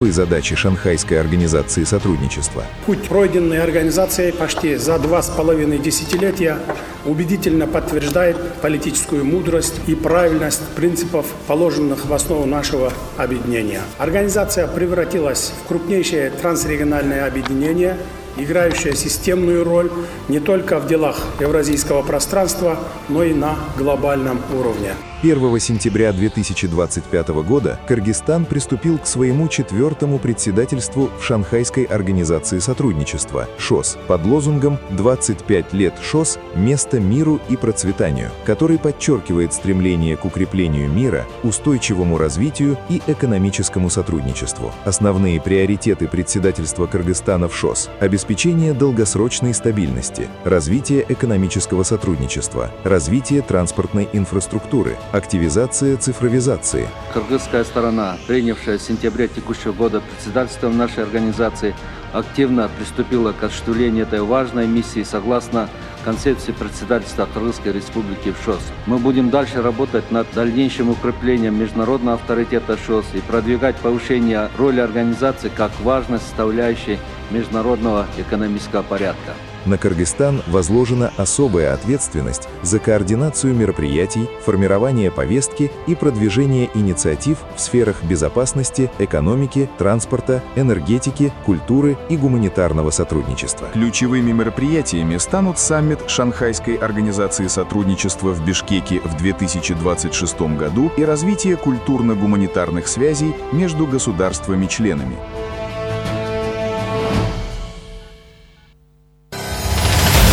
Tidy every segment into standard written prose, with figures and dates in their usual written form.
Задачи Шанхайской организации сотрудничества. Путь, пройденный организацией почти за 2,5 десятилетия, убедительно подтверждает политическую мудрость и правильность принципов, положенных в основу нашего объединения. Организация превратилась в крупнейшее трансрегиональное объединение, играющее системную роль не только в делах евразийского пространства, но и на глобальном уровне. 1 сентября 2025 года Кыргызстан приступил к своему 4-му председательству в Шанхайской организации сотрудничества ШОС под лозунгом «25 лет ШОС. Место миру и процветанию», который подчеркивает стремление к укреплению мира, устойчивому развитию и экономическому сотрудничеству. Основные приоритеты председательства Кыргызстана в ШОС – обеспечение долгосрочной стабильности, развитие экономического сотрудничества, развитие транспортной инфраструктуры, активизация цифровизации. Кыргызская сторона, принявшая в сентябре текущего года председательством нашей организации, активно приступила к осуществлению этой важной миссии согласно концепции председательства Кыргызской Республики в ШОС. Мы будем дальше работать над дальнейшим укреплением международного авторитета ШОС и продвигать повышение роли организации как важной составляющей международного экономического порядка. На Кыргызстан возложена особая ответственность за координацию мероприятий, формирование повестки и продвижение инициатив в сферах безопасности, экономики, транспорта, энергетики, культуры и гуманитарного сотрудничества. Ключевыми мероприятиями станут саммит Шанхайской организации сотрудничества в Бишкеке в 2026 году и развитие культурно-гуманитарных связей между государствами-членами.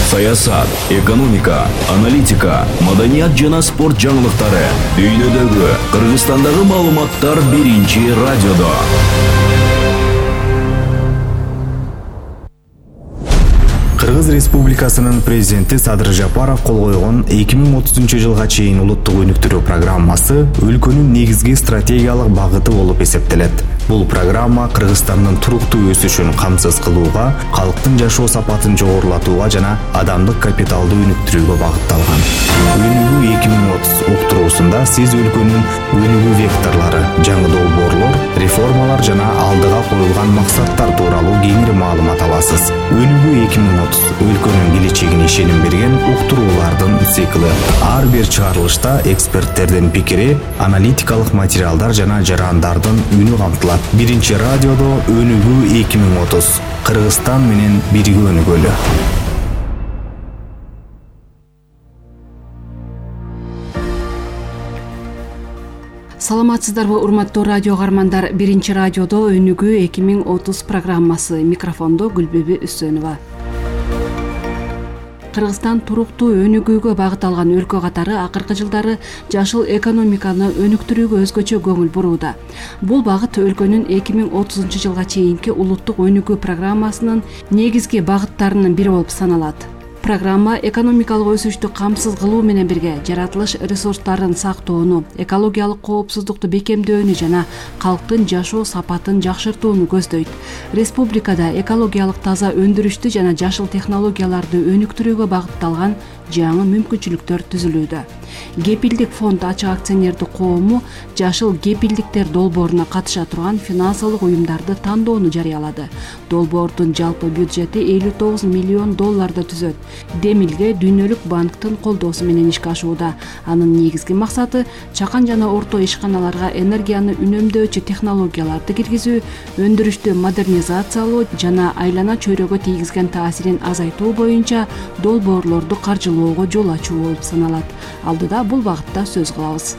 Саясат, экономика, аналитика, маданият жана спорт жаңылыктары. Дүйнөдөгү, Кыргызстандагы маалыматтар биринчи радиодо. Кыргыз Республикасынын президенти Садыр Жапаров кол койгон 2030 чейин улуттук өнүктүрүү программасы өлкөнүн негизги стратегиялык багыты болуп эсептелет. Бул программа Кыргызстандын туруктуу өсүшүн камсыз кылууга, калктын жашоо сапатын жогорулатууга жана адамдык капиталды өнүктүрүүгө багытталган. Өнүгүү 2030 уктуруусунда сиз өлкөнүн өнүгүү векторлору, жаңы долбоорлор, реформалар жана алдыга коюлган максаттар тууралуу кеңири маалымат аласыз. Өнүгүү 2030 өлкөнүн келечегине ишеним берген уктуруулардын циклы. Ар бир чыгарылышта эксперттердин пикири, аналитикалык материалдар жана жарандардын үнү камтылат. Биринчи радиодо өнүгүү 2030. Кыргызстан менен бирге өнүгөлү. Саламатсыздарбы, урматтуу радио каармандар. Биринчи радиодо өнүгүү 2030 программасы. Микрофондо Гүлбүбү Үсөнова. Кыргызстан туруктуу өнүгүүгө багыт алган өлкө катары акыркы жылдары жашыл экономиканы өнүктүрүүгө өзгөчө көңүл бурууда. Бул багыт өлкөнүн 2030 жылга чейинки улуттук өнүгүү программасынын негизги багыттарынын бири болуп саналат. Программа экономикалык өсүштү камсыз кылуу менен бирге жаратылыш ресурстарын сактоону, экологиялык коопсуздукту бекемдөөнү жана калктын жашоо сапатын жакшыртууну көздөйт. Республикада экологиялык таза өндүрүштү жана жашыл технологияларды өнүктүрүүгө багытталган жаңы мүмкүнчүлүктөр түзүлүүдө. Кепилдик фонд ачык акционердик коому жашыл кепилдиктер долбооруна катыша турган финансылык уюмдарды тандоону жарыялады. Долбоордун жалпы бюджети $59 миллион түзөт. Демилге Дүйнөлүк банктын колдоосу менен ишке ашууда. Анын негизги максаты чакан жана орто ишканаларга энергияны үнөмдөөчү технологияларды киргизүү, өндүрүштү модернизациялоо жана айлана чөйрөгө тийгизген таасирин азайтуу боюнча долбоорлорду каржылоого жол ачуу болуп саналат. Алдыда бул багытта сөз кылабыз.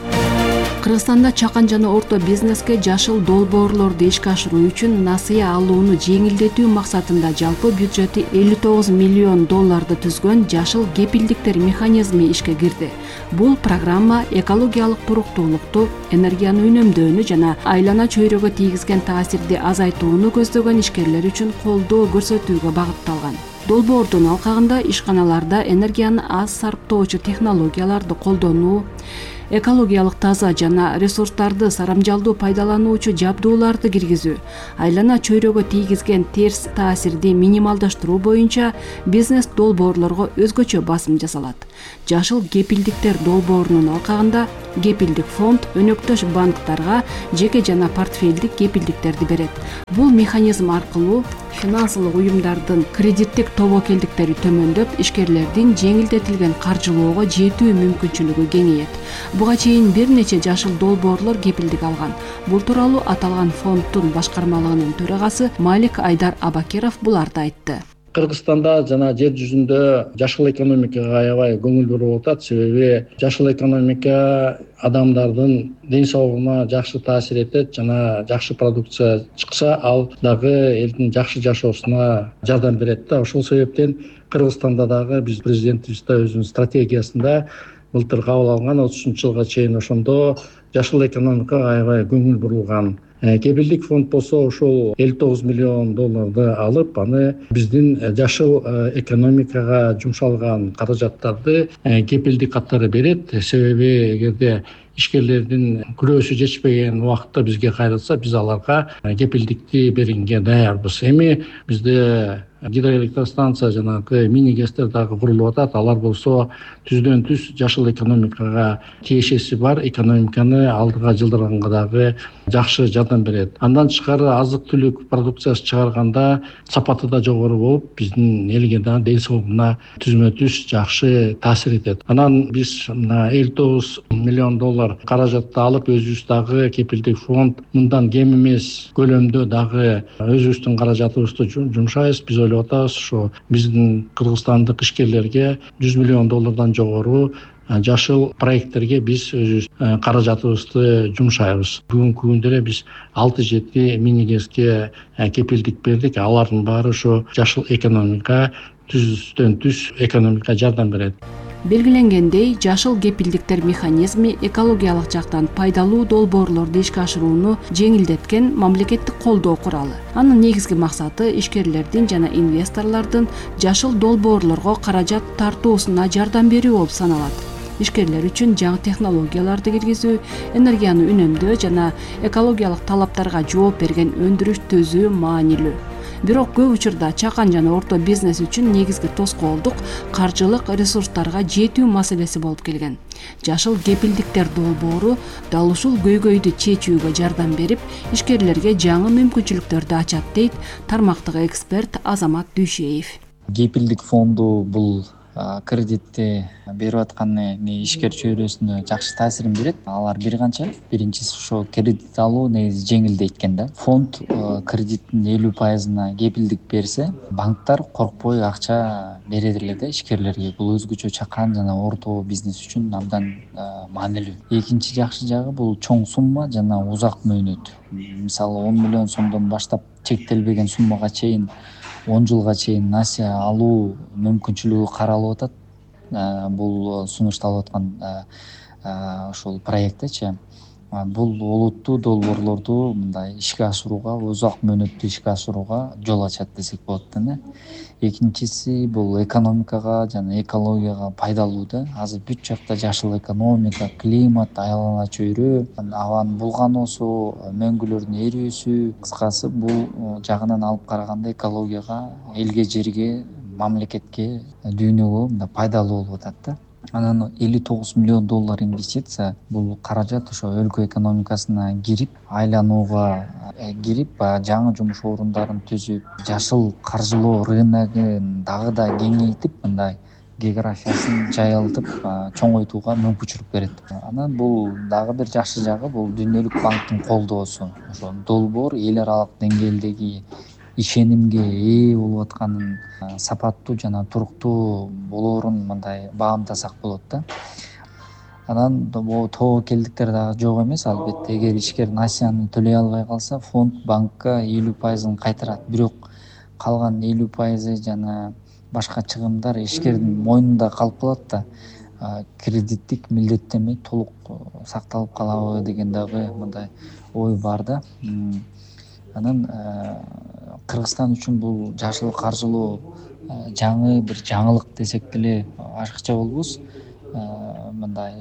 Кыргызстанда чакан жана орто бизнеске жашыл долбоорлорду ишке ашыруу үчүн насыя алууну жеңилдетүү максатында жалпы бюджети $59 миллион түзгөн жашыл кепилдиктер механизми ишке кирди. Бул программа экологиялык туруктуулукту, энергияны үнөмдөөнү жана айлана чөйрөгө тийгизген таасирди азайтууну көздөгөн ишкерлер үчүн колдоо көрсөтүүгө багытталган. Долбоордун алкагында ишканаларда энергияны аз сарптоочу технологияларды колдонуу, экологиялык таза жана ресурстарды сарамжалдуу пайдалануучу жабдууларды киргизүү, айлана чөйрөгө тийгизген терс таасирди минималдаштыруу боюнча бизнес долбоорлорго өзгөчө басым жасалат. Жашыл кепилдиктер долбоорунун алкагында кепилдик фонд өнөктөш банктарга жеке жана портфелдик кепилдиктерди берет. Бул механизм аркылуу финансылык уюмдардын кредиттик тобокелдиктери төмөндөп, ишкерлердин жеңилдетилген каржылоого жетүү мүмкүнчүлүгү кеңейет. Буга чейин бир нече жашыл долбоорлор кепилдик алган. Бул тууралуу аталган фонддун башкармалыгынын төрагасы Малик Айдар Абакиров буларды айтты. Кыргызстанда жана жер жүзүндө жашыл экономикага аябай көңүл буруп атат. Себеби жашыл экономика адамдардын ден соолугуна жакшы таасир этет жана жакшы продукция чыкса, ал дагы элдин жакшы жашоосуна жардам берет да. Ошол себептен Кыргызстанда дагы биз президентибиз да өзүнүн стратегиясында былтыр кабыл алган 30 жылга чейин ошондо жашыл экономикага аябай көңүл бурулган. Кепилдик фонд болсо ошол $59 миллион алып, аны биздин жашыл экономикага жумшалган каражаттарды кепилдик катары берет. Себеби эгерде ишкерлердин күрөөсү жетишпеген убакытта бизге кайрылса, биз аларга кепилдикти берүүгө даярбыз. Эми бизде гидроэлектростанция жанагы мини гэстер дагы курулуп атат. Алар болсо түздөн түз жашыл экономикага тиешеси бар, экономиканы алдыга жылдырганга дагы жакшы жардам берет. Андан тышкары азык-түлүк продукциясы чыгарганда сапаты да жогору болуп, биздин элге да ден соолугуна түзмө түз жакшы таасир этет. Анан биз $59 миллион каражатты алып, өзүбүз дагы кепилдик фонд мындан кем эмес көлөмдө дагы өзүбүздүн каражатыбызды жумшайбыз. Биз ойлоп атабыз, ошо биздин кыргызстандык ишкерлерге $100 миллион жогору жашыл проекттерге биз өзүбүз каражатыбызды жумшайбыз. Бүгүнкү күндө эле биз 6-7 мини гэске кепилдик бердик. Алардын баары ошо жашыл экономика, түздөн түз экономикага жардам берет. Белгиленгендей, жашыл кепилдиктер механизми экологиялык жактан пайдалуу долбоорлорду ишке ашырууну жеңилдеткен мамлекеттик колдоо куралы. Анын негизги максаты ишкерлердин жана инвесторлордун жашыл долбоорлорго каражат тартуусуна жардам берүү болуп саналат. Ишкерлер үчүн жаңы технологияларды киргизүү, энергияны үнөмдөө жана экологиялык талаптарга жооп берген өндүрүш төзүү маанилүү. Бирок көп учурда чакан жана орто бизнес үчүн негизги тоскоолдук каржылык ресурстарга жетүү маселеси болуп келген. Жашыл кепилдиктер долбоору дал ушул көйгөйдү чечүүгө жардам берип, ишкерлерге жаңы мүмкүнчүлүктөрдү ачат, дейт тармактагы эксперт Азамат Дүйшеев. Кепилдик фонду бул кредитти берип аткан ишкер чөйрөсүнө жакшы таасирин берет. Алар бир канча. Биринчиси ошо кредит алуу негизи жеңилдейт экен да. Фонд кредиттин 50%-на кепилдик берсе, банктар коркпой акча берет эле да ишкерлерге. Бул өзгөчө чакан жана орто бизнес үчүн абдан маанилүү. Экинчи жакшы жагы бул чоң сумма жана узак мөөнөт. Мисалы 10 миллион сомдон баштап чектелбеген суммага чейин 10 жылга чейин насия алуу мүмкүнчүлүгү каралып атат. Бул сунушталып аткан ошол проекттечи. Бул олуттуу долбоорлорду мындай ишке ашырууга, узак мөөнөттүү ишке ашырууга жол ачат десек болот да. Экинчиси бул экономикага жана экологияга пайдалуу да. Азыр бүт жакта жашыл экономика, климат, айлана чөйрө, абанын булгануусу, мөңгүлөрдүн эрүүсү, кыскасы бул жагынан алып караганда экологияга, элге, жерге, мамлекетке, дүйнөгө мындай пайдалуу болуп атат да. Анан $59 миллион инвестиция бул каражат ошо өлкө экономикасына кирип, айланууга кирип, жаңы жумуш орундарын түзүп, жашыл каржылоо рыногун дагы да кеңейтип, мындай географиясын жайылтып, чоңойтууга мүмкүнчүлүк берет. Анан бул дагы бир жакшы жагы бул Дүйнөлүк банктын колдоосу. Ошо долбоор эл аралык деңгээлдеги ишенимге ээ болуп атканын, сапаттуу жана туруктуу болоорун мындай баамдасак болот да. Анан тобокелдиктер дагы жок эмес, албетте. Эгер ишкер насияны төлөй албай калса, фонд банкка 50%-ын кайтарат. Бирок калган 50% жана башка чыгымдар ишкердин мойнунда калып калат да. Кредиттик милдеттенме толук сакталып калабы деген дагы мындай ой бар да. Анан Кыргызстан үчүн бул жашыл каржылоо жаңы бир жаңылык десек деле ашыкча болбос. мындай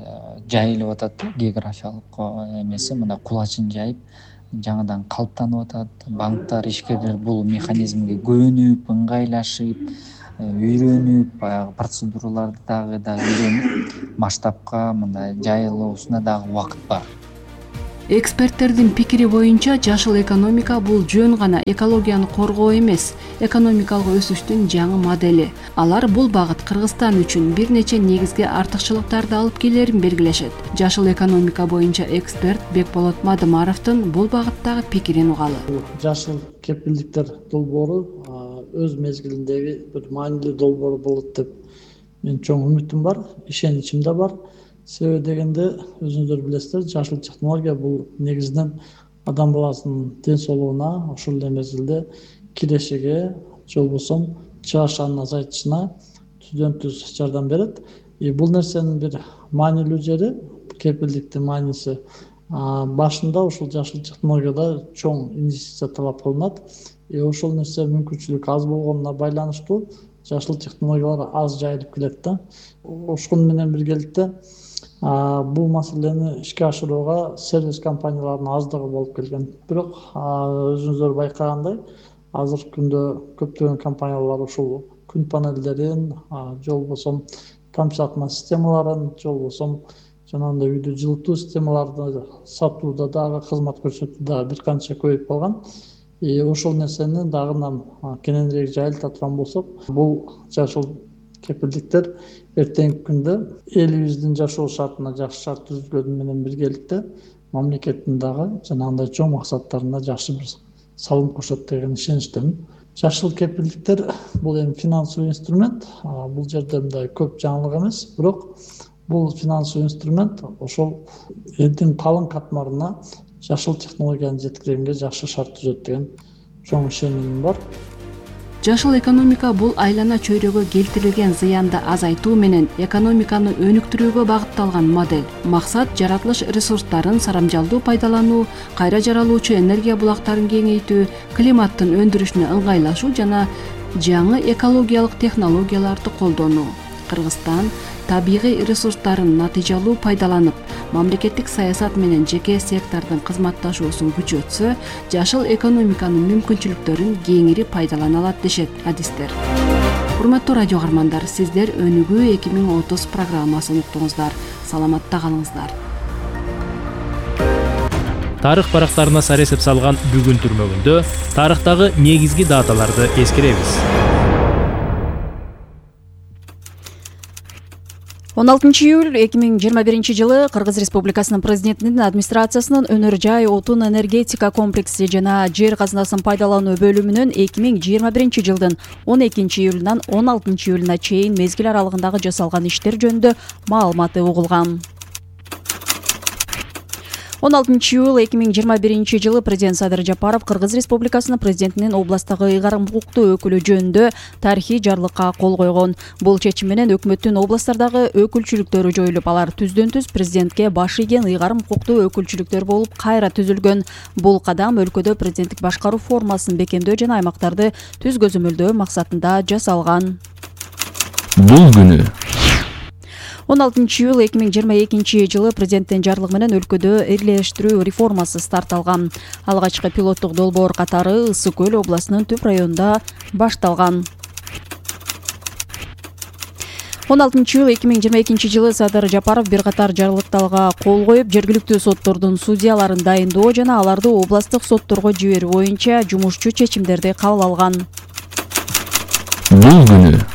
жайылып атат, географиялык эмеси мындай кулачын жайып жаңыдан калыптанып атат. Банктар, ишкерлер бул механизмге көнүп, ыңгайлашып, үйрөнүп, баягы процедураларды дагы үйрөнүп, масштабка мындай жайылуусуна дагы убакыт бар. Эксперттердин пикири боюнча жашыл экономика бул жөн гана экологияны коргоо эмес, экономикалык өсүштүн жаңы модели. Алар бул багыт Кыргызстан үчүн бир нече негизги артыкчылыктарды алып келерин белгилешет. Жашыл экономика боюнча эксперт Бекболот Мадымаровдун бул багыттагы пикирин угалы. Жашыл кепилдиктер долбоору өз мезгилиндеги бир маанилүү долбоор болот деп мен чоң үмүтүм бар, ишеничим да бар. Себеби дегенде өзүңүздөр билесиздер, жашыл технология бул негизинен адам баласынын ден соолугуна, ошол эле мезгилде кирешиге, же болбосо чыгашанын азайтышына түздөн түз жардам берет. Бул нерсенин бир маанилүү жери, кепилдиктин мааниси башында ушул жашыл технологияда чоң инвестиция талап кылынат. Ошол нерсе мүмкүнчүлүк аз болгонуна байланыштуу жашыл технологиялар аз жайылып келет да. Ошону менен биргеликте бул маселени ишке ашырууга сервис компанияларынын аздыгы болуп келген. Бирок өзүңүздөр байкагандай, азыркы күндө көптөгөн компаниялар ушул күн панелдерин, же болбосо тамчылатма системаларын, же болбосо жанагындай үйдү жылытуу системаларын сатууда дагы, кызмат көрсөтүүдө бир канча көбөйүп калган. Ошол нерсени дагы кененирээк жайылта турган болсок, бул жашыл кепилдиктер эртеңки күндө элибиздин жашоо шартына жакшы шарт түзүлгөнү менен биргеликте мамлекеттин дагы жанагындай чоң максаттарына жакшы бир салым кошот деген ишеничтемин. Жашыл кепилдиктер бул эми финансылык инструмент, бул жерде мындай көп жаңылык эмес, бирок бул финансылык инструмент ошол элдин калың катмарына жашыл технологияны жеткиргенге жакшы шарт түзөт деген чоң ишенимим бар. Жашыл экономика бул айлана чөйрөгө келтирилген зыянды азайтуу менен экономиканы өнүктүрүүгө багытталган модель. Максат жаратылыш ресурстарын сарамжалдуу пайдалануу, кайра жаралуучу энергия булактарын кеңейтүү, климаттын өндүрүшүнө ыңгайлашуу жана жаңы экологиялык технологияларды колдонуу. Кыргызстан табигый ресурстарын натыйжалуу пайдаланып, мамлекеттик саясат менен жеке сектордун кызматташуусун күчөтсө, жашыл экономиканын мүмкүнчүлүктөрүн кеңири пайдалана алат дешет адистер. Урматтуу радио каармандар, сиздер Өнүгүү 2030 программасын уктуңуздар. Саламатта калыңыздар. Тарых барактарына сар эсеп салган бүгүн түрмөгүндө тарыхтагы негизги даталарды эскеребиз. 16 июль 2021 жылы Кыргыз Республикасынын президентинин администрациясынын өнөр жай отун энергетика комплекси жана жер казынасын пайдалануу бөлүмүнүн 2021 жылдын 12 июлунан 16 июлуна чейин мезгил аралыгындагы жасалган иштер жөнүндө маалыматы угулган. 16 июль 2021 жылы президент Садыр Жапаров Кыргыз Республикасынын президентинин областтагы ыйгарым укуктуу өкүлү жөнүндө тарыхый жарлыкка кол койгон. Бул чечим менен өкмөттүн областтардагы өкүлчүлүктөрү жоюлуп, алар түздөн түз президентке баш ийген ыйгарым укуктуу өкүлчүлүктөр болуп кайра түзүлгөн. Бул кадам өлкөдө президенттик башкаруу формасын бекемдөө жана аймактарды түз көзөмөлдөө максатында жасалган. Бул күнү 16 июль 2022 жылы президенттин жарлыгы менен өлкөдө эрлештирүү реформасы старт алган. Алгачкы пилоттук долбоор катары Ысык көл областынын Түп районунда башталган. 16 июль 2022 жылы Садыр Жапаров бир катар жарлыктарга кол коюп, жергиликтүү соттордун судьяларын дайындоо жана аларды областтык сотторго жиберүү боюнча жумушчу чечимдерди кабыл алган. Бул күнү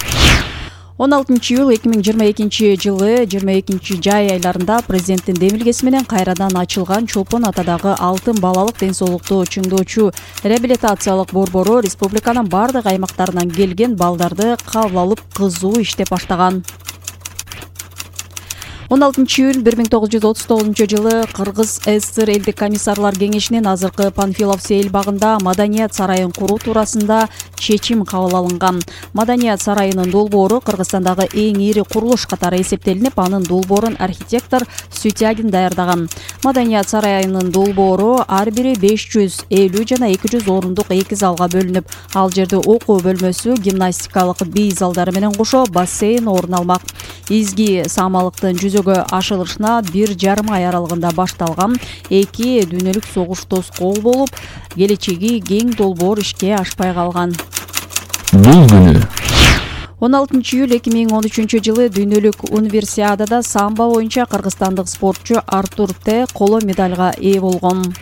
16 июль 2022 жылы 22 жай айларында президенттин демилгеси менен кайрадан ачылган Чолпон атадагы алтын балалык ден соолукту чыңдоочу реабилитациялык борбору республиканын бардык аймактарынан келген балдарды кабыл алып кызуу иштеп баштаган. 16-июль 1939 Кыргыз ССР элдик комиссарлар кеңешинин азыркы Панфилов сейил багында Маданият сарайын куруу туурасында чечим кабыл алынган. Маданият сарайынын долбоору Кыргызстандагы эң ири курулуш катары эсептелинип, анын долбоорун архитектор Сутягин даярдаган. Маданият сарайынын долбоору ар бири 550 жана 200 орундук 2 залга бөлүнүп, ал жерде окуу бөлмөсү, гимнастикалык бий залдары менен кошо бассейн орун алмак. Изги самалыктын жүзөгө ашырылышына 1,5 ай аралыгында башталган 2 дүйнөлүк согуш тоскоол болуп, келечеги кең долбоор ишке ашпай калган. Бул күнү 16 июль 2013 жылы дүйнөлүк универсиадада самбо боюнча кыргызстандык спортчу Артур Т коло медальга ээ болгон.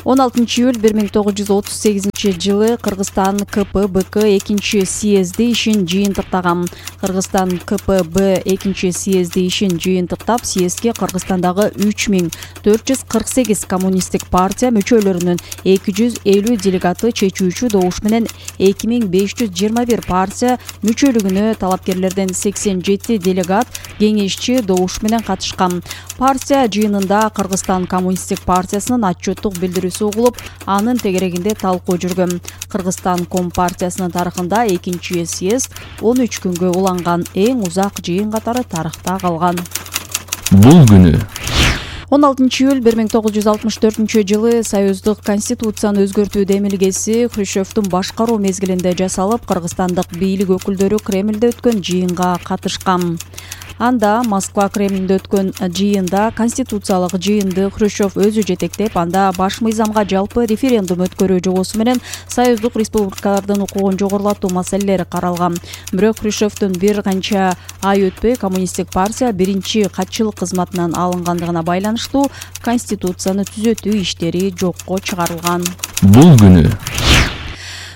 16 июль 1938 жылы Кыргызстан КПБК 2 съезди ишин жыйынтыктаган. Кыргызстан КПБ 2 съезди ишин жыйынтыктап, съездге Кыргызстандагы 3448 коммунисттик партия мүчөлөрүнүн 250 делегаты чечүүчү добуш менен 2521 партия мүчөлүгүнө талапкерлерден 87 делегат кеңешчи добуш менен катышкан. Партия жыйынында Кыргызстан коммунисттик партиясынын отчеттук билдирүүсү угулуп, анын тегерегинде талкуу жүргөн. Кыргызстан Компартиясынын тарыхында 2 съезд 13 күнгө уланган эң узак жыйын катары тарыхта калган. Бул күнү 16 июль 1964 жылы Союздук Конституцияны өзгөртүү демилгеси Хрущевдун башкаруу мезгилинде жасалып, кыргызстандык бийлик өкүлдөрү Кремльде өткөн жыйынга катышкан. Анда Москва Кремльде өткөн жыйында конституциялык жыйынды Хрущев өзү жетектеп, анда баш мыйзамга жалпы референдум өткөрүү жобосу менен союздук республикалардын укугун жогорулатуу маселелери каралган. Бирок Хрущевдун бир канча ай өтпөй коммунисттик партия биринчи катчылык кызматынан алынгандыгына байланыштуу конституцияны түзөтүү иштери жокко чыгарылган. Бул күнү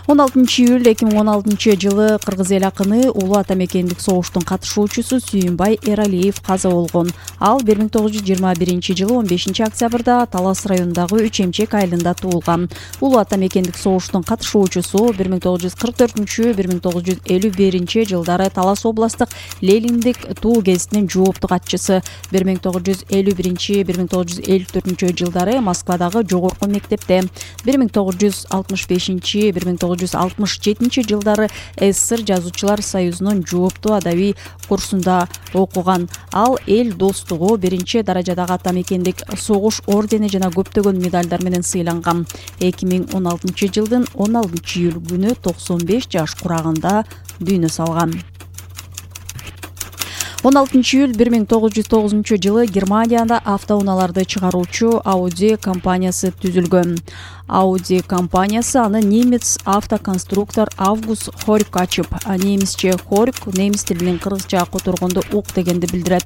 16 июль 2016 жылы кыргыз эл акыны Улуу Ата Мекендик согуштун катышуучусу Сүйүнбай Эралиев каза болгон. Ал 1921 жылы 15 октябрда Талас районундагы Үч Эмчек айылында туулган. Улуу Ата Мекендик согуштун катышуучусу 1944-1951 жылдары Талас областтык Лелиндик туу гезитинин жоопту катчысы, 1951-1954 жылдары Москвадагы жогорку мектепте, 1965-1967 жылдары СССР Жазуучулар союзунун жооптуу адабий курсунда окуган. Ал эл достугу, биринчи даражадагы ата мекендик согуш ордени жана көптөгөн медалдар менен сыйланган. 2016 жылдын 16 июль күнү 95 жаш курагында дүйнө салган. 16 июль 1909 жылы Германияда автоунааларды чыгаруучу Audi компаниясы түзүлгөн. Audi компаниясы аны немец автоконструктор Август Хорик ачып, немисче Хорик немис тилинин кыргызча которгондо ук дегенди билдирет.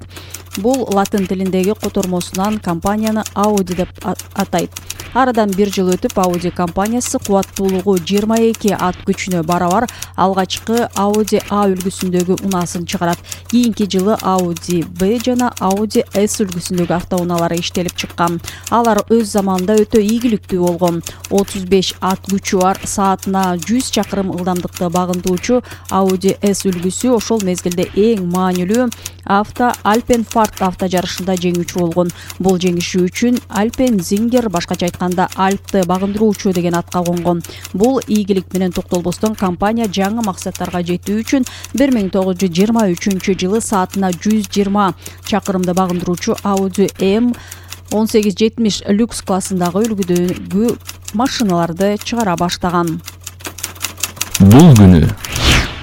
Бул латын тилиндеги котормосунан компанияны Audi деп атайт. Арадан 1 жыл өтүп Audi компаниясы кубаттуулугу 22 ат күчүнө барабар алгачкы Audi A үлгүсүндөгү унасын чыгарат. Кийинки жылы Audi B жана Audi S үлгүсүндөгү автоунаалары иштелип чыккан. Алар өз заманында өтө ийгиликтүү болгон. 35 ат күчү бар, саатына 100 чакырым ылдамдыкты багындыруучу Audi S үлгүсү ошол мезгилде эң маанилүү Альпенфарт автожарышында жеңүүчү болгон. Бул жеңиши үчүн Альпензингер, башкача айтканда Альпты багындыруучу деген атка конгон. Бул ийгилик менен токтолбостон компания жаңы максаттарга жетүү үчүн 1923 жылы саатына 120 чакырымды багындыруучу Audi M1870 люкс классындагы үлгүдөгү машиналарды чыгара баштаган. Бул күнү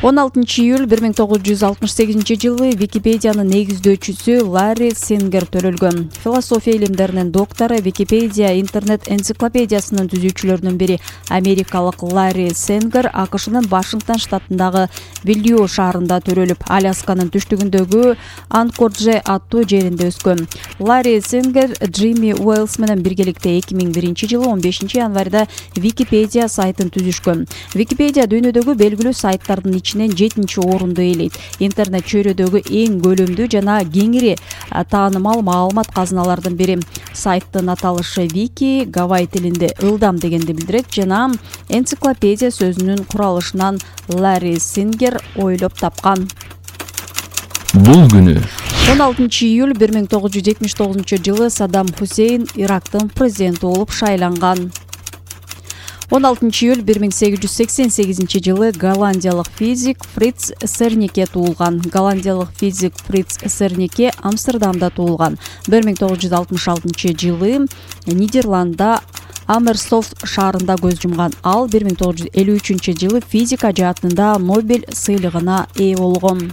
16 июль 1968 жылы Википедиянын негиздөөчүсү Ларри Сенгер төрөлгөн. Философия илимдеринин доктору, Википедия интернет-энциклопедиясынын түзүүчүлөрүнүн бири америкалык Ларри Сенгер АКШнын Вашингтон штатындагы Вильё шаарында төрөлүп, Алясканын түштүгүндөгү Анкордже аттуу жеринде өскөн. Ларри Сенгер Джимми Уэллс менен биргеликте 2001 жылы 15 январда Википедия сайтын түзүшкөн. Википедия дүйнөдөгү белгилүү сайттардын 7-чи орунду ээлейт. Интернет чөйрөдөгү эң көлөмдүү жана кеңири таанымал маалымат казыналардын бири. Сайттын аталышы Вики гавай тилинде ылдам дегенди билдирет жана энциклопедия сөзүнүн куралышынан Ларри Сингер ойлоп тапкан. Бул күнү 16-июль 1979 Саддам Хусейн Ирактын президенти болуп шайланган. 16-июль 1888 жылы голландиялык физик Фриц Сернике туулган. Голландиялык физик Фриц Сернике Амстердамда туулган. 1966 жылы Нидерландда Амерсофт шаарында көз жумган. Ал 1953 жылы физика жаатында Нобель сыйлыгына ээ болгон.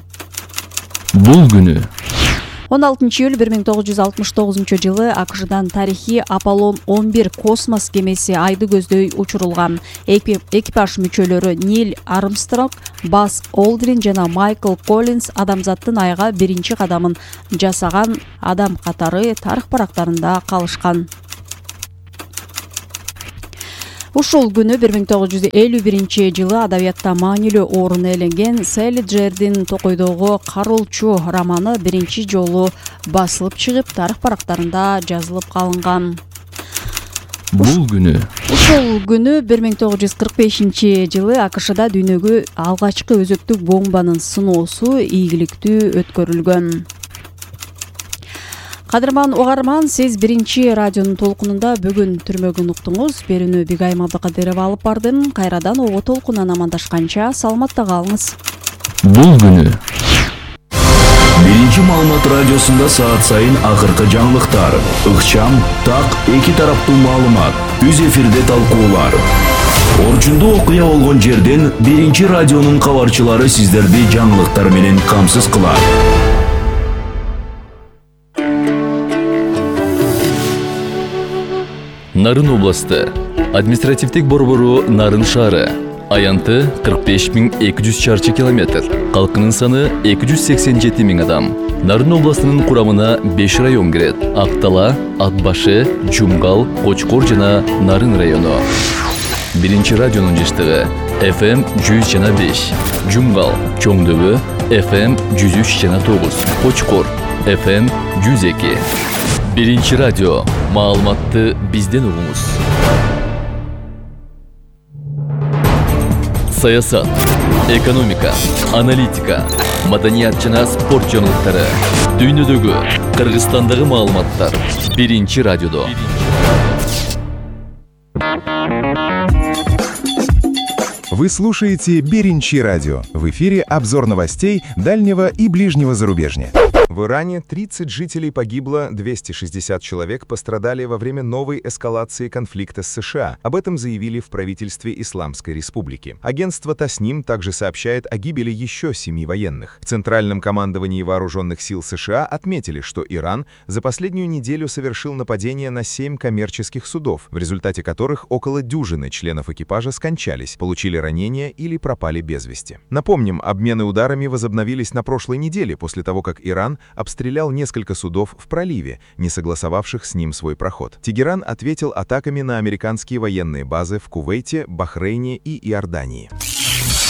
Бул күнү 16-июль 1969 жылы АКШдан тарихи Аполлон 11 космос кемеси айды көздөй учурулган. Экипаж мүчөлөрү Нил Армстронг, Бас Олдрин жана Майкл Коллинс адамзаттын айга биринчи кадамын жасаган адам катары тарых барактарында калышкан. Ушул күнү 1951 жылы адабиятта маанилүү орун ээленген Селиджердин Токойдогу Каролчу романы биринчи жолу басылып чыгып, тарых барактарында жазылып калынган. Бул күнү Ушул күнү 1945 жылы АКШда дүйнөгө алгачкы өзөктүк бомбанын сыноосу ийгиликтүү өткөрүлгөн. Кадырман угарман, сиз биринчи радионун толкунунда бүгүн түрмөгүн уктуңуз. Берүүнү Бигайым Абдыкадырова алып бардым. Кайрадан ого толкунан амандашканча саламатта калыңыз. Бул күнү Биринчи маалымат радиосунда саат сайын акыркы жаңылыктар, ыкчам, так, эки тараптуу маалымат, үз эфирде талкуулар. Орчундуу окуя болгон жерден биринчи радионун кабарчылары сиздерди жаңылыктар менен камсыз кылат. Нарын областы, административдик борбору Нарын шаары, аянты 45.200 чарчы километр, калкынын саны 287 000 адам. Нарын областынын курамына 5 район кирет: Актала, Атбашы, Жумгал, Кочкор жана Нарын району. Биринчи радионун жыштыгы FM 100,5, Жумгал, Чоңдөбө, FM 103,9, Кочкор, FM 102. Биринчи радио, маалыматты бизден угуңуз. Саясат, экономика, аналитика, маданият жана спорт жаңылыктары, дүйнөдөгү, Кыргызстандагы маалыматтар биринчи радиодо. Вы слушаете Биринчи радио. В эфире обзор новостей дальнего и ближнего зарубежья. В Иране 30 жителей погибло, 260 человек пострадали во время новой эскалации конфликта с США. Об этом заявили в правительстве Исламской Республики. Агентство Тасним также сообщает о гибели еще 7 военных. В Центральном командовании вооруженных сил США отметили, что Иран за последнюю неделю совершил нападение на 7 коммерческих судов, в результате которых около дюжины членов экипажа скончались, получили ранения или пропали без вести. Напомним, обмены ударами возобновились на прошлой неделе после того, как Иран обстрелял несколько судов в проливе, не согласовавших с ним свой проход. Тегеран ответил атаками на американские военные базы в Кувейте, Бахрейне и Иордании.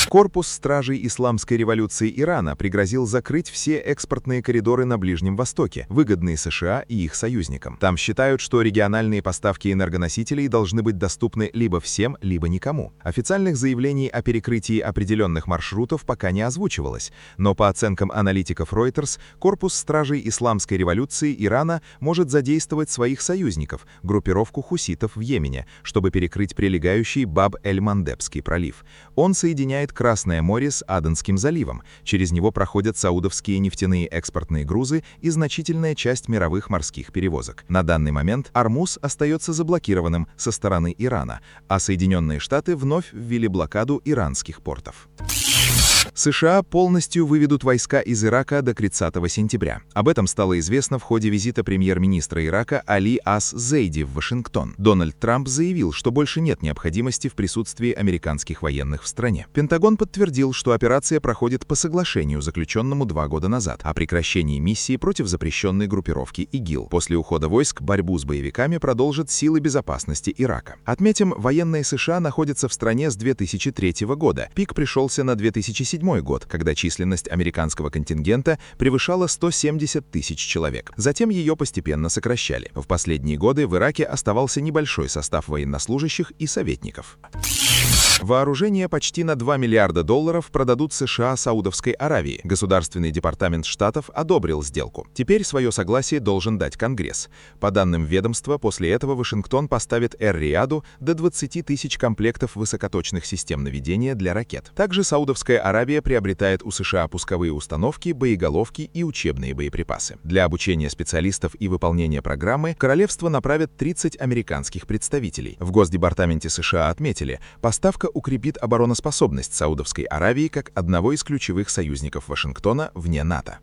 Корпус стражей Исламской революции Ирана пригрозил закрыть все экспортные коридоры на Ближнем Востоке, выгодные США и их союзникам. Там считают, что региональные поставки энергоносителей должны быть доступны либо всем, либо никому. Официальных заявлений о перекрытии определенных маршрутов пока не озвучивалось, но по оценкам аналитиков Reuters, корпус стражей Исламской революции Ирана может задействовать своих союзников, группировку хуситов в Йемене, чтобы перекрыть прилегающий Баб-эль-Мандебский пролив. Он соединяет Красное море с Аденским заливом. Через него проходят саудовские нефтяные экспортные грузы и значительная часть мировых морских перевозок. На данный момент Ормуз остается заблокированным со стороны Ирана, а Соединенные Штаты вновь ввели блокаду иранских портов. США полностью выведут войска из Ирака до 30 сентября. Об этом стало известно в ходе визита премьер-министра Ирака Али Ас-Зейди в Вашингтон. Дональд Трамп заявил, что больше нет необходимости в присутствии американских военных в стране. Пентагон подтвердил, что операция проходит по соглашению, заключенному 2 года назад, о прекращении миссии против запрещенной группировки ИГИЛ. После ухода войск борьбу с боевиками продолжат силы безопасности Ирака. Отметим, военные США находятся в стране с 2003 года. Пик пришелся на 2007 год, когда численность американского контингента превышала 170 тысяч человек. Затем ее постепенно сокращали. В последние годы в Ираке оставался небольшой состав военнослужащих и советников. Вооружения почти на $2 миллиарда продадут США Саудовской Аравии. Государственный департамент Штатов одобрил сделку. Теперь свое согласие должен дать Конгресс. По данным ведомства, после этого Вашингтон поставит Эр-Рияду до 20 тысяч комплектов высокоточных систем наведения для ракет. Также Саудовская Аравия приобретает у США пусковые установки, боеголовки и учебные боеприпасы. Для обучения специалистов и выполнения программы королевство направит 30 американских представителей. В Госдепартаменте США отметили, поставка укрепит обороноспособность Саудовской Аравии как одного из ключевых союзников Вашингтона вне НАТО.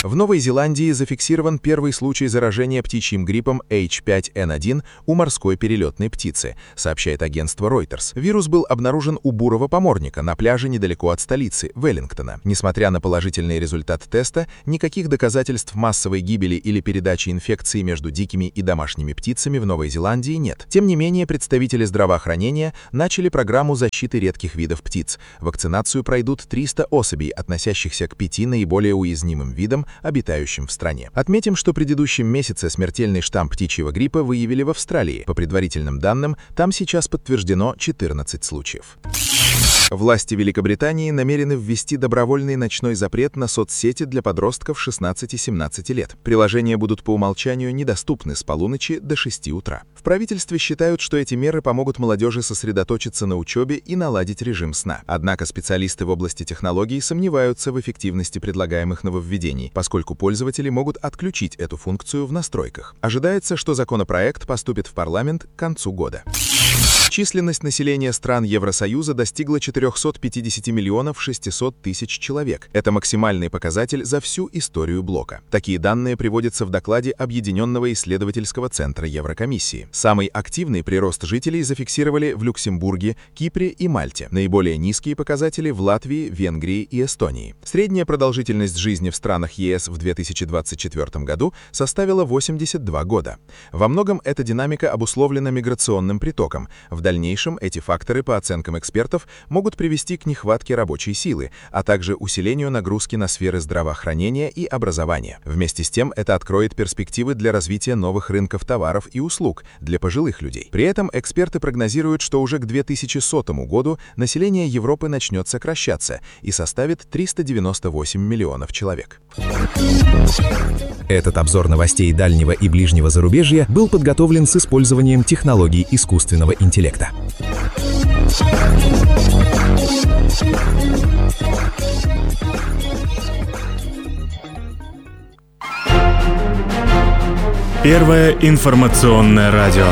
В Новой Зеландии зафиксирован первый случай заражения птичьим гриппом H5N1 у морской перелетной птицы, сообщает агентство Reuters. Вирус был обнаружен у бурого поморника на пляже недалеко от столицы, Веллингтона. Несмотря на положительный результат теста, никаких доказательств массовой гибели или передачи инфекции между дикими и домашними птицами в Новой Зеландии нет. Тем не менее, представители здравоохранения начали программу защиты редких видов птиц. Вакцинацию пройдут 300 особей, относящихся к 5 наиболее уязвимым видам, обитающим в стране. Отметим, что в предыдущем месяце смертельный штамм птичьего гриппа выявили в Австралии. По предварительным данным, там сейчас подтверждено 14 случаев. Власти Великобритании намерены ввести добровольный ночной запрет на соцсети для подростков 16-17 лет. Приложения будут по умолчанию недоступны с полуночи до 6 утра. В правительстве считают, что эти меры помогут молодежи сосредоточиться на учебе и наладить режим сна. Однако специалисты в области технологий сомневаются в эффективности предлагаемых нововведений, поскольку пользователи могут отключить эту функцию в настройках. Ожидается, что законопроект поступит в парламент к концу года. Численность населения стран Евросоюза достигла 450 миллионов 600 тысяч человек. Это максимальный показатель за всю историю блока. Такие данные приводятся в докладе Объединенного исследовательского центра Еврокомиссии. Самый активный прирост жителей зафиксировали в Люксембурге, Кипре и Мальте. Наиболее низкие показатели в Латвии, Венгрии и Эстонии. Средняя продолжительность жизни в странах ЕС в 2024 году составила 82 года. Во многом эта динамика обусловлена миграционным притоком. В дальнейшем эти факторы, по оценкам экспертов, могут привести к нехватке рабочей силы, а также усилению нагрузки на сферы здравоохранения и образования. Вместе с тем, это откроет перспективы для развития новых рынков товаров и услуг для пожилых людей. При этом эксперты прогнозируют, что уже к 2100 году население Европы начнет сокращаться и составит 398 миллионов человек. Этот обзор новостей дальнего и ближнего зарубежья был подготовлен с использованием технологий искусственного интеллекта. Первое информационное радио.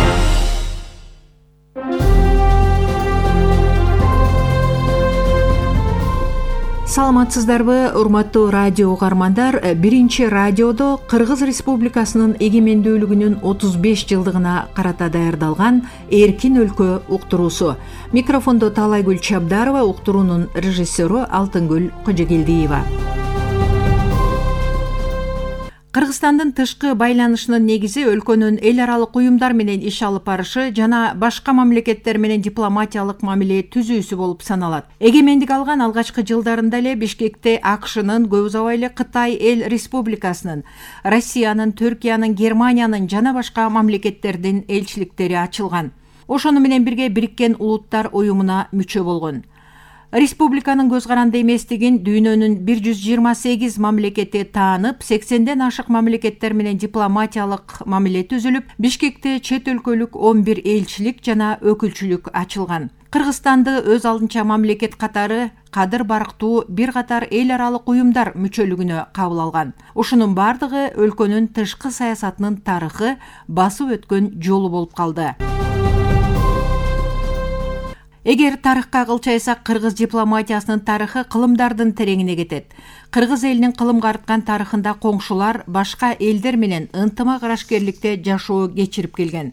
Саламатсыздарбы, урматтуу радио угармандар. Биринчи радиодо Кыргыз Республикасынын эгемендүүлүгүнүн 35 жылдыгына карата даярдалган Эркин өлкө уктуруусу. Микрофондо Таалайгүл Чабдарова, уктуруунун режиссеру Алтынгүл Кожогелдиева. Кыргызстандын тышкы байланышынын негизи өлкөнүн эл аралык уюмдар менен иш алып барышы жана башка мамлекеттер менен дипломатиялык мамиле түзүүсү болуп саналат. Эгемендик алган алгачкы жылдарында эле Бишкекте АКШнын, көп узабай эле Кытай Эл Республикасынын, Россиянын, Түркиянын, Германиянын жана башка мамлекеттердин элчиликтери ачылган. Ошону менен бирге Бириккен Улуттар уюмуна мүчө болгон. Республиканын көз каранды эместигин дүйнөнүн 128 мамлекети таанып, 80ден ашык мамлекеттер менен дипломатиялык мамиле түзүлүп, Бишкекте чет өлкөлүк 11 элчилик жана өкүлчүлүк ачылган. Кыргызстанды өз алдынча мамлекет катары кадыр барктуу бир катар эл аралык уюмдар мүчөлүгүнө кабыл алган. Ушунун бардыгы өлкөнүн тышкы саясатынын тарыхы, басып өткөн жолу болуп калды. Эгер тарыхка кылчайсак, кыргыз дипломатиясынын тарыхы кылымдардын тереңине кетет. Кыргыз элинин кылымга арткан тарыхында коңшулар башка элдер менен ынтымак арашкерликте жашоо кечирип келген.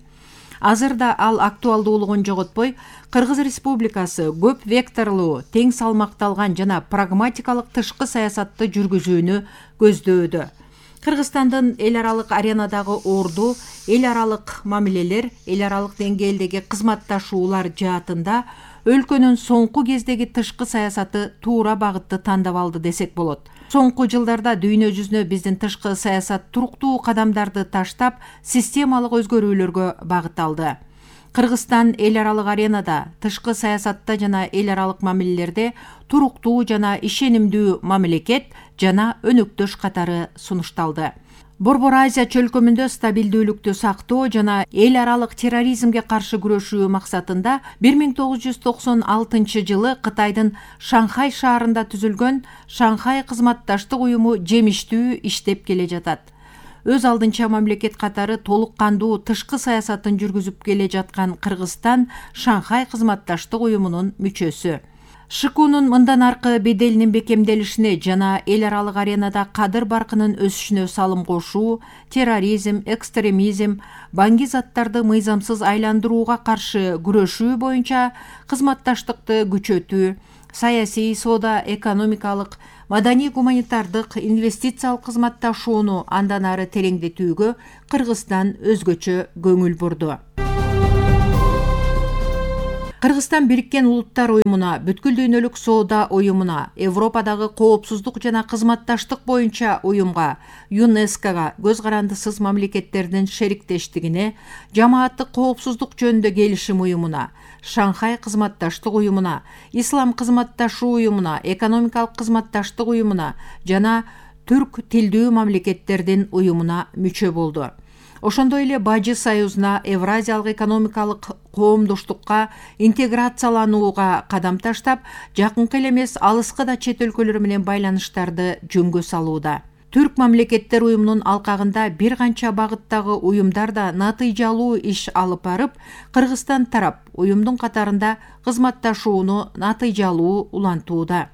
Азырда ал актуалдуулугун жоготпой, Кыргыз Республикасы көп векторлуу, тең салмакталган жана прагматикалык тышкы саясатты жүргүзүүнү көздөөдө. Кыргызстандын эл аралык аренадагы орду, эл аралык мамилелер, эл аралык деңгээлдеги кызматташуулар жаатында өлкөнүн соңку кездеги тышкы саясаты туура багытты тандап алды десек болот. Соңку жылдарда дүйнө жүзүнө биздин тышкы саясат туруктуу кадамдарды таштап, системалык өзгөрүүлөргө багыт алды. Кыргызстан эл аралык аренада, тышкы саясатта жана эл аралык мамилелерде туруктуу жана ишенимдүү мамлекет жана өнөктөш катары сунушталды. Борбор Азия чөлкөмүндө стабилдүүлүктү сактоо жана эл аралык терроризмге каршы күрөшүү максатында 1996 жылы Кытайдын Шанхай шаарында түзүлгөн Шанхай кызматташтык уюму жемиштүү иштеп келе жатат. Өз алдынча мамлекет катары толук кандуу тышкы саясатын жүргүзүп келе жаткан Кыргызстан Шанхай кызматташтык уюмунун мүчөсү. ШКУнун мындан аркы беделинин бекемделишине жана эл аралык аренада кадыр баркынын өсүшүнө салым кошуу, терроризм, экстремизм, баңги заттарды мыйзамсыз айландырууга каршы күрөшүү боюнча кызматташтыкты күчөтүү, саясий, соода, экономикалык, маданий-гуманитардык, инвестициялык кызматташууну андан ары тереңдетүүгө Кыргызстан өзгөчө көңүл бурду. Кыргызстан Бириккен Улуттар уюмуна, Бүткүл дүйнөлүк соода уюмуна, Европадагы коопсуздук жана кызматташтык боюнча уюмга, ЮНЕСКОга, көз карандысыз мамлекеттердин шериктештигине, жамааттык коопсуздук жөнүндө келишим уюмуна, Шанхай кызматташтык уюмуна, Ислам кызматташуу уюмуна, экономикалык кызматташтык уюмуна жана түрк тилдүү мамлекеттердин уюмуна мүчө болду. Ошондой эле Бажы Союзуна, Евразиялык экономикалык коомдоштукка интеграцияланууга кадам таштап, жакынкы эле эмес алыскы да чет өлкөлөр менен байланыштарды жөнгө салууда. Түрк мамлекеттер уюмунун алкагында бир канча багыттагы уюмдар да натыйжалуу иш алып барып, Кыргызстан тарап уюмдун катарында кызматташууну натыйжалуу улантууда.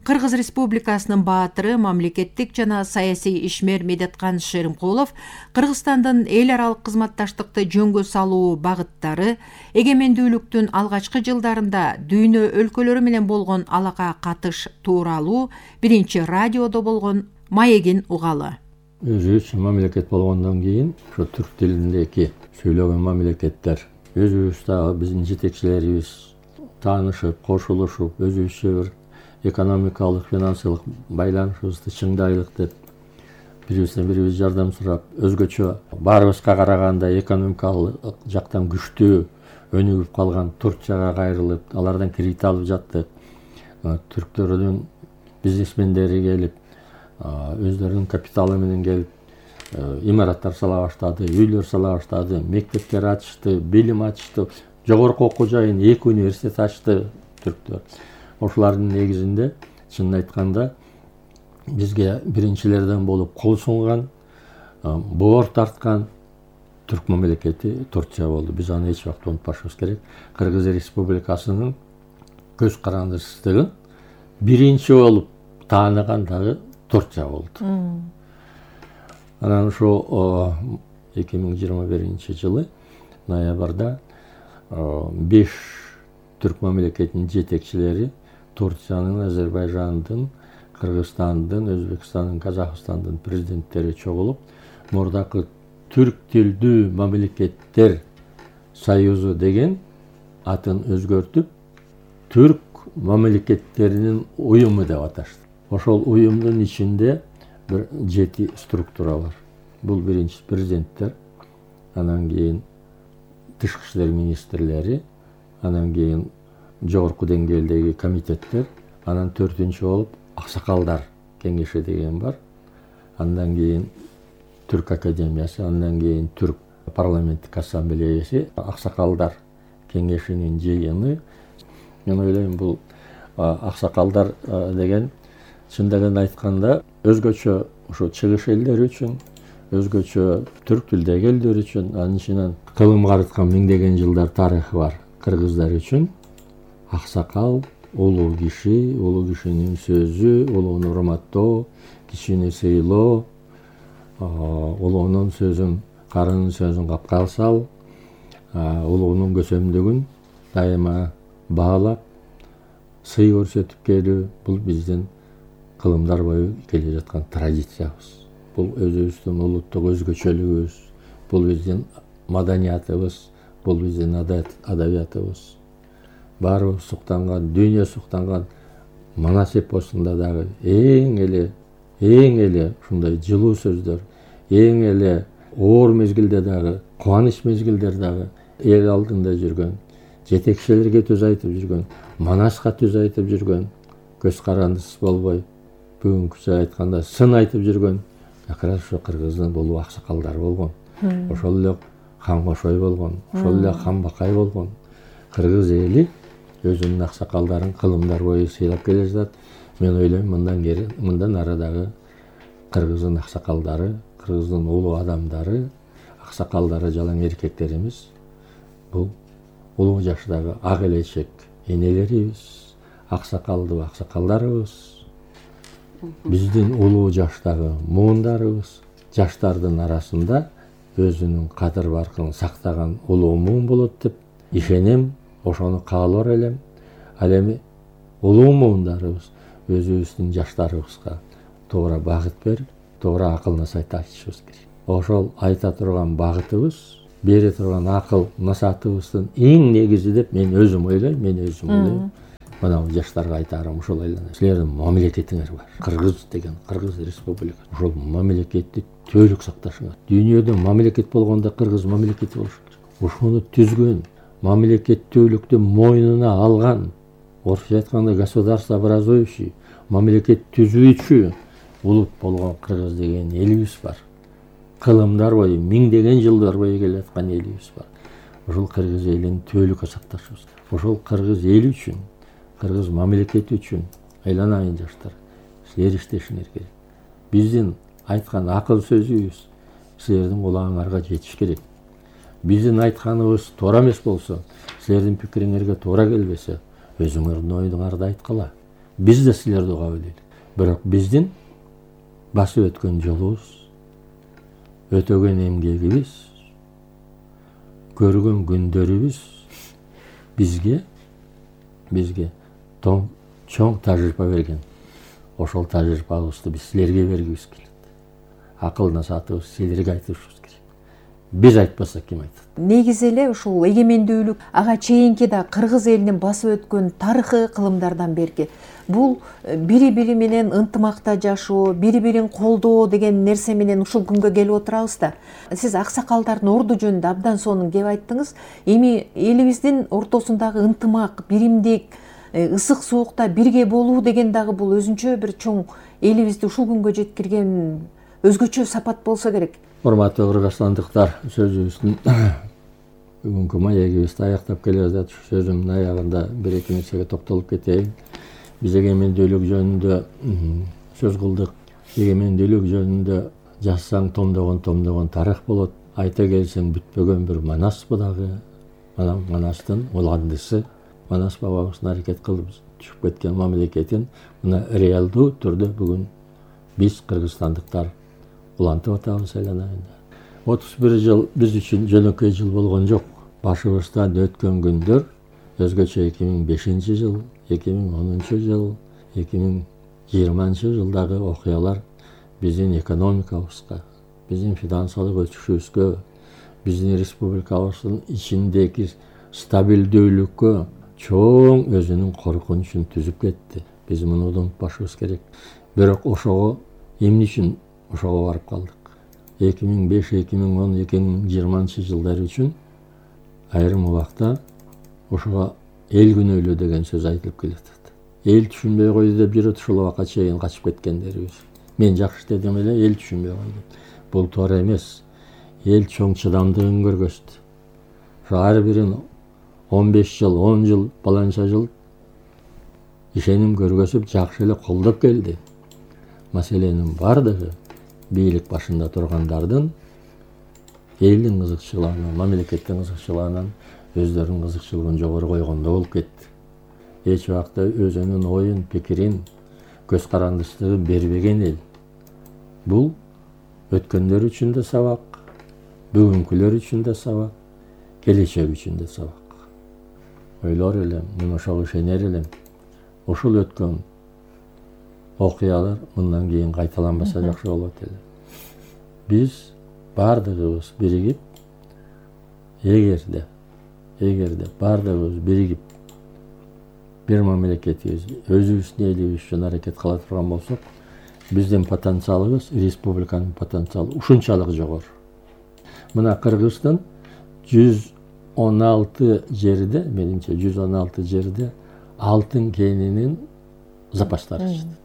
Кыргыз Республикасынын баатыры, мамлекеттик жана саясий ишмер Медеткан Шеримкулов Кыргызстандын эл аралык кызматташтыкты жөнгө салуу багыттары, эгемендүүлүктүн алгачкы жылдарында дүйнө өлкөлөрү менен болгон алака катыш тууралуу биринчи радиодо болгон маегин угалы. Өзүбүз мамлекет болгондон кийин ошо түрк тилиндеги сүйлөгөн мамлекеттер өзүбүз дагы биздин жетекчилерибиз таанышып, кошулушуп, өзүбүзчө бир экономикалык, финансылык байланышыбызды чыңдайлык деп бирибизден бирибиз жардам сурап, өзгөчө баарыбызга караганда экономикалык жактан күчтүү өнүгүп калган Турцияга кайрылып, алардан кредит алып жаттык. Түрктөрдүн бизнесмендери келип, өздөрүнүн капиталы менен келип, имараттар сала баштады, үйлөр сала баштады, мектептер ачышты, билим ачышты, жогорку окуу жайын 2 университет ачты түрктөр. Ошолардын негизинде чынын айтканда бизге биринчилерден болуп кол сунган, боор тарткан түрк мамлекети Турция болду. Биз аны эч убакта унутпашыбыз керек. Кыргыз Республикасынын көз карандысыздыгын биринчи болуп тааныган дагы Турция болду. Анан ошо 2021 жылы ноябрда 5 түрк мамлекетинин жетекчилери Турциянын, Азербайжандын, Кыргызстандын, Өзбекстандын, Казакстандын президенттери чогулуп, мурдакы түрк тилдүү мамлекеттер союзу деген атын өзгөртүп, түрк мамлекеттеринин уюму деп аташты. Ошол уюмдун ичинде бир 7 структура бар. Бул биринчи президенттер, анан кийин тышкы иштер министрлери, анан кийин жогорку деңгээлдеги комитеттер, анан 4-үнчү болуп аксакалдар кеңеши деген бар. Андан кийин Түрк академиясы, андан кийин Түрк парламенттик ассамблеясы, аксакалдар кеңешинин жыйыны. Мен ойлойм, бул аксакалдар деген чындыгын айтканда өзгөчө ошо чыгыш элдери үчүн, өзгөчө түрк тилдеги элдер үчүн, анын ичинен кылым карыткан миңдеген жылдар тарыхы бар кыргыздар үчүн аксакал улуу кишинин сөзү, улууну урматтоо, кичини сыйлоо, улуунун сөзүн, карынын сөзүн капка сал, улуунун көсөмдүгүн дайыма баалап, сый көрсөтүп келүү, бул биздин кылымдар бою келе жаткан традициябыз. Бул өзүбүздүн улуттук өзгөчөлүгүбүз, бул биздин маданиятыбыз, бул биздин адабиятыбыз. Баарыбыз суктанган, дүйнө суктанган Манас эпосунда дагы эң эле ушундай жылуу сөздөр, эң эле оор мезгилде дагы, кубаныч мезгилдер дагы эл алдында жүргөн, жетекчилерге түз айтып жүргөн, Манаска түз айтып жүргөн, көз карандысыз болбой, бүгүнкүчө айтканда сын айтып жүргөн как раз ошо кыргыздын улуу аксакалдары болгон. Ошол эле хан Кошой болгон, ошол эле хан Бакай болгон. Кыргыз эли өзүнүн аксакалдарын кылымдар бою сыйлап келе жатат. Мен ойлойм, мындан ары дагы кыргыздын аксакалдары, кыргыздын улуу адамдары, аксакалдары жалаң эркектер эмес. Бул улуу жаштагы ак элечек энелерибиз, аксакалдуу аксакалдарыбыз, биздин улуу жаштагы муундарыбыз, жаштардын арасында өзүнүн кадыр баркын сактаган улуу муун болот деп ишенем, ошону каалар элем. Ал эми улуу муундарыбыз өзүбүздүн жаштарыбызга туура багыт берип, туура акыл насаат айтышыбыз керек. Ошол айта турган багытыбыз, бере турган акыл насаатыбыздын эң негизи деп мен өзүм ойлойм. Мына жаштарга айтарым ушул эле. Силердин мамлекетиңер бар. Кыргыз деген, Кыргыз Республикасы. Ошол мамлекетти түбөлүк сакташыңар. Дүйнөдө мамлекет болгондо Кыргыз мамлекети болуш керек. Ошону түзгөн, мамлекеттүүлүктү мойнуна алган, орусча айтканда государствообразующий, мамлекет түзүүчү улут болгон Кыргыз деген элибиз бар. Кылымдар бою, миңдеген жылдар бою келаткан элибиз бар. Ошол Кыргыз элин түбөлүккө сакташыбыз керек. Ошол Кыргыз эли үчүн, Кыргыз мамлекети үчүн айланайын жаштар, силер иштешиңер керек. Биздин айткан акыл сөзүбүз силердин кулагыңарга жетиш керек. Биздин айтканыбыз туура эмес болсо, силердин пикириңерге туура келбесе, өзүңөрдүн оюңарды айткыла. Биз да силерди угап элек. Бирок биздин басып өткөн жолубуз, өтөгөн эмгегибиз, көргөн күндөрүбүз бизге чоң тажрыйба берген. Ошол тажрыйбабызды биз силерге бергибиз келет. Акыл насаатыбыз силерге айтышыбыз керек. Биз айтпасак ким айтат? Негизи эле ушул эгемендүүлүк ага чейинки да Кыргыз элинин басып өткөн тарыхы кылымдардан берки бул бири-бири менен ынтымакта жашоо, бири-бирин колдоо деген нерсе менен ушул күнгө келип отурабыз да. Сиз аксакалдардын орду жөнүндө абдан сонун кеп айттыңыз. Эми элибиздин ортосундагы ынтымак, биримдик, ысык суукта бирге болуу деген дагы бул өзүнчө бир чоң элибизди ушул күнгө жеткирген өзгөчө сапат болсо керек. Урматтуу кыргызстандыктар, сөзүбүздүн бүгүнкү маегибизди аяктап келе жатат. Сөзүмдүн аягында бир-эки нерсеге токтолуп кетейин. Биз эгемендүүлүк жөнүндө сөз кылдык. Эгемендүүлүк жөнүндө жазсаң томдогон тарых болот. Айта келсең бүтпөгөн бир Манас дагы. Манастын уландысы, Манас бабабыздын аракет кылып түшүп кеткен мамлекетин мына реалдуу түрдө бүгүн биз кыргызстандыктар улантып атабыз айланайында. 31 жыл биз үчүн жөнөкөй жыл болгон жок. Башыбыздан өткөн күндөр өзгөчө 2005 жыл, 2010 жыл, 2020 жылдагы окуялар биздин экономикабызга, биздин финансылык өсүшүбүзгө, биздин республикабыздын ичиндеги стабилдүүлүккө чоң өзүнүн коркунучун түзүп кетти. Биз муну унутпашыбыз керек. Бирок ошого эмне үчүн ошого барып калдык? 2005, 2010, 2020 жылдар үчүн айрым убакта ошого эл күнөөлүү деген сөз айтылып келатат. Эл түшүнбөй койду деп жүрөт, ушул убакка чейин качып кеткендерибиз. Мен жакшы дедим эле, эл түшүнбөй койду. Бул туура эмес. Эл чоң чыдамдыгын көргөздү. Ошо ар бирин 15 жыл, 10 жыл, баланча жыл ишеним көргөзүп, жакшы эле колдоп келди. Маселенин бардыгы бийлик башында тургандардын элдин кызыкчылыгынан, мамлекеттин кызыкчылыгынан өздөрүнүн кызыкчылыгын жогору койгондо болуп кетти. Эч убакта өзүнүн оюн, пикирин, көз карандысты бербеген эл. Бул өткөндөр үчүн да сабак, бүгүнкүлөр үчүн да сабак, келечек үчүн да сабак. Ойлор элем, мен ошого ишенер элем. Ушул өткөн окуялар мындан кийин кайталанбаса жакшы болот эле. Биз бардыгыбыз биригип, эгерде бардыгыбыз биригип бир мамлекетибиз, өзүбүздүн элибиз үчүн аракет кыла турган болсок, биздин потенциалыбыз, республиканын потенциалы ушунчалык жогору. Мына Кыргыздын 116 жерде, менимче 116 жерде алтын кенинин запастары жатат.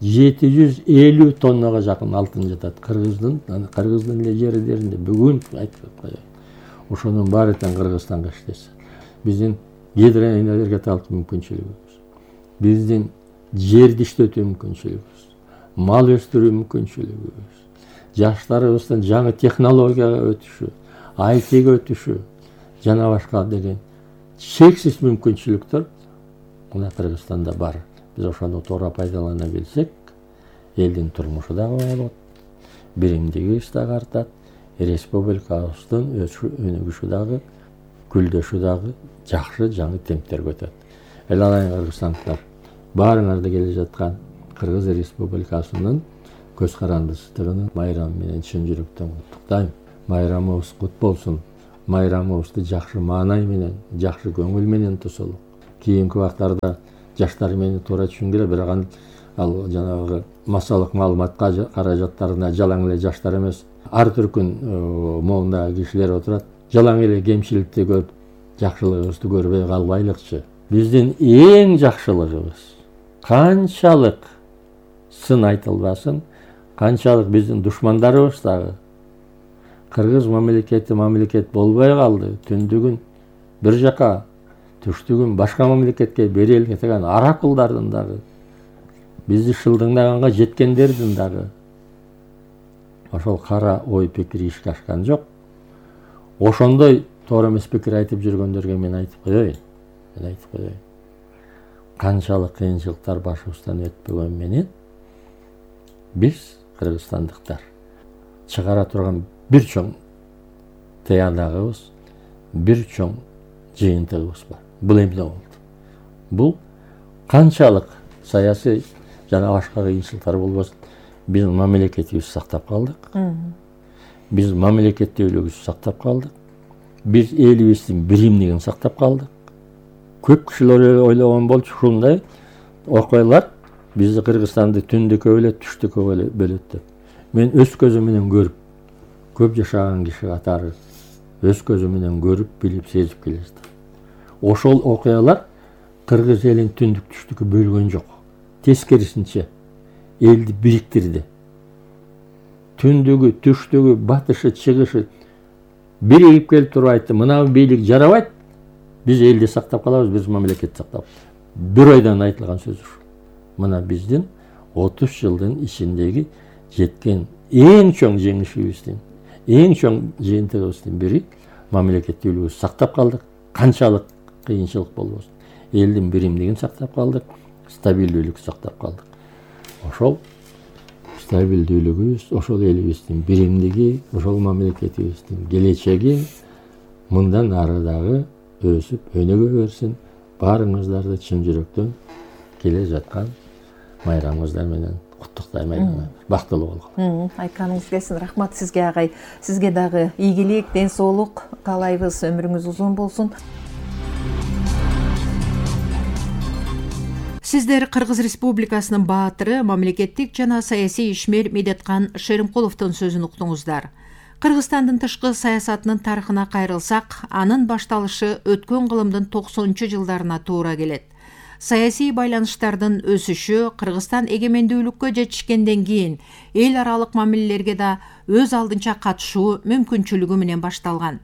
750 тоннага жакын алтын жатат Кыргыздын эле жерлеринде. Бүгүн айтып коеюн. Ошонун баары тең Кыргызстанга иштесе. Биздин гидроэнергетикалык мүмкүнчүлүгүбүз, биздин жерди иштетүү мүмкүнчүлүгүбүз, мал өстүрүү мүмкүнчүлүгүбүз, жаштарыбыздын жаңы технологияга өтүшү, ITге өтүшү жана башка деген чексиз мүмкүнчүлүктөр мына Кыргызстанда бар. Биз ошону туура пайдалана билсек, элдин турмушу дагы болот, биримдигибиз дагы артат, республикабыздын өнүгүшү дагы, гүлдөшү дагы жакшы жаңы темптерге өтөт. Эл алайын кыргызстандыктар, баарыңарды келе жаткан Кыргыз Республикасынын көз карандысыздыгын майрамы менен чын жүрөктөн куттуктайм. Майрамыбыз кут болсун. Майрамыбызды жакшы маанай менен, жакшы көңүл менен тосолу. Кийинки убактарда жаштар мени туура түшүнгүлө, бирок ал жанагы массалык маалымат каражаттарына жалаң эле жаштар эмес, ар түркүн моундагы кишилер отурат. Жалаң эле кемчиликти көрүп, жакшылыгыбызды көрбөй калбайлыкчы. Биздин эң жакшылыгыбыз канчалык сын айтылбасын, канчалык биздин душмандарыбыз дагы Кыргыз мамлекети мамлекет болбой калды, түндүгүн бир жака, түштүгүн башка мамлекетке берели кеткен аракылдардын дагы, бизди шылдыңдаганга жеткендердин дагы ошол кара ой пикири ишке ашкан жок. Ошондой туура эмес пикир айтып жүргөндөргө мен айтып коеюн. Канчалык кыйынчылыктар башыбыздан өтпөгөн менен биз кыргызстандыктар чыгара турган бир чоң тыянагыбыз, бир чоң жыйынтыгыбыз бар. Бул эмне болду? Бул канчалык саясий жана башка кыйынчылыктар болбосун, биз мамлекетибизди сактап калдык. Биз мамлекеттүүлүгүбүздү сактап калдык. Биз элибиздин биримдигин сактап калдык. Көп кишилер ойлогон болчу ушундай окуялар бизди Кыргызстанды түндүккө бөлөт, түштүккө бөлөт деп. Мен өз көзүм менен көрүп, көп жашаган киши катары өз көзүм менен көрүп, билип, сезип келе жатам. Ошол окуялар кыргыз элин түндүк түштүккө бөлгөн жок. Тескерисинче элди бириктирди. Түндүгү, түштүгү, батышы, чыгышы биригип келип туруп айтты, мына бийлик жарабайт, биз элди сактап калабыз, биз мамлекетти сактап. Бир ойдон айтылган сөз ушул. Мына биздин 30 жылдын ичиндеги жеткен эң чоң жеңишибиздин, эң чоң жыйынтыгыбыздын бири мамлекеттүүлүгүбүздү сактап калдык. Канчалык кыйынчылык болбосун, элдин биримдигин сактап калдык, стабилдүүлүктү сактап калдык. Ошол стабилдүүлүгүбүз, ошол элибиздин биримдиги, ошол мамлекетибиздин келечеги мындан ары дагы өсүп, өнүгө берсин. Баарыңыздарды чын жүрөктөн келе жаткан майрамыңыздар менен куттуктайм. Бактылуу болгула. Айтканыңыз келсин. Рахмат сизге агай. Сизге дагы ийгилик, ден соолук каалайбыз. Өмүрүңүз узун болсун. Сиздер Кыргыз Республикасынын баатыры, мамлекеттик жана саясий ишмер Медеткан Шеримкуловдун сөзүн уктуңуздар. Кыргызстандын тышкы саясатынын тарыхына кайрылсак, анын башталышы өткөн кылымдын 90-жылдарына туура келет. Саясий байланыштардын өсүшү Кыргызстан эгемендүүлүккө жетишкенден кийин эл аралык мамилелерге да өз алдынча катышуу мүмкүнчүлүгү менен башталган.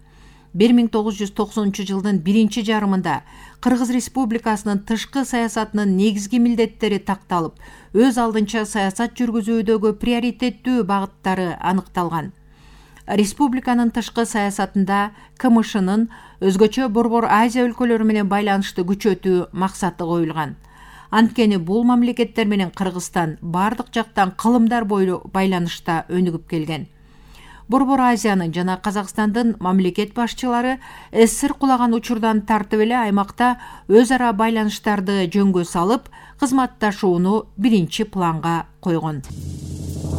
1990 жылдын биринчи жарымында Кыргыз Республикасынын тышкы саясатынын негизги милдеттери такталып, өз алдынча саясат жүргүзүүдөгү приоритеттүү багыттары аныкталган. Республиканын тышкы саясатында КМШнын өзгөчө Борбор Азия өлкөлөрү менен байланышты күчөтүү максаты коюлган. Анткени бул мамлекеттер менен Кыргызстан бардык жактан кылымдар бойлуу байланышта өнүгүп келген. Борбор Азиянын жана Казакстандын мамлекет башчылары СССР кулаган учурдан тартып эле аймакта өз ара байланыштарды жөнгө салып, кызматташууну биринчи планга койгон.